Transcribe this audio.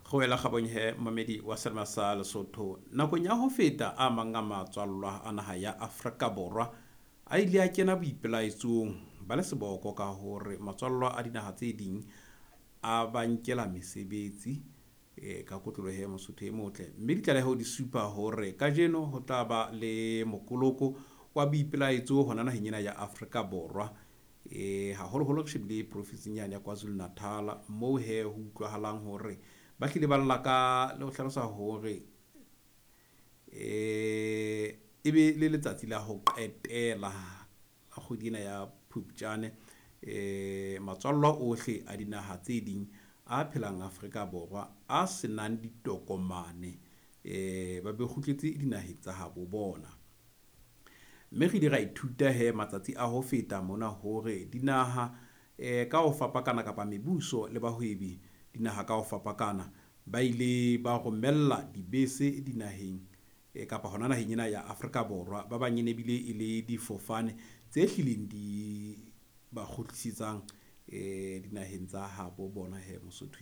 Kgowela kgabong he momedi wa selema sa Lesotho. Nakong ya ho feta a mang a matswallwa a naha ya Afrika Borwa a ile a kena boipelaetsong ba le seboko ka hore matswallwa a dinaha tse ding a ba nkela mesebetsi ka kotloloho he Mosotho e motle. Mme ditlaleho di supa hore kajeno ho tla ba le mokoloko wa boipelaetso hona naheng ena ya Afrika Borwa. Haholoholo re shebile profinsing yane ya Kwazulu Natal moo he ho utlwahalang hore ba hlile ba lla ka le ho hlalosa hore e be le letsatsi la ho qetela la kgwedi ena ya Phupjane, matswallwa ohle a dinaha tse ding a phelang Afrika Borwa a senang ditokomane ba be kgutletse dinaheng tsa habo bona. Mme re ile ra ithuta he matsatsi a ho feta mona hore dinaha ka ho fapakana kapa mebuso le bahwebi dinaha ka ho fapakana ba ile ba romella dibese dinaheng kapa hona naheng ena ya Afrika Borwa. Ba bang e ne bile e le difofane tse hlileng di ba kgutlisetsang dinaheng tsa habo bona he Mosotho.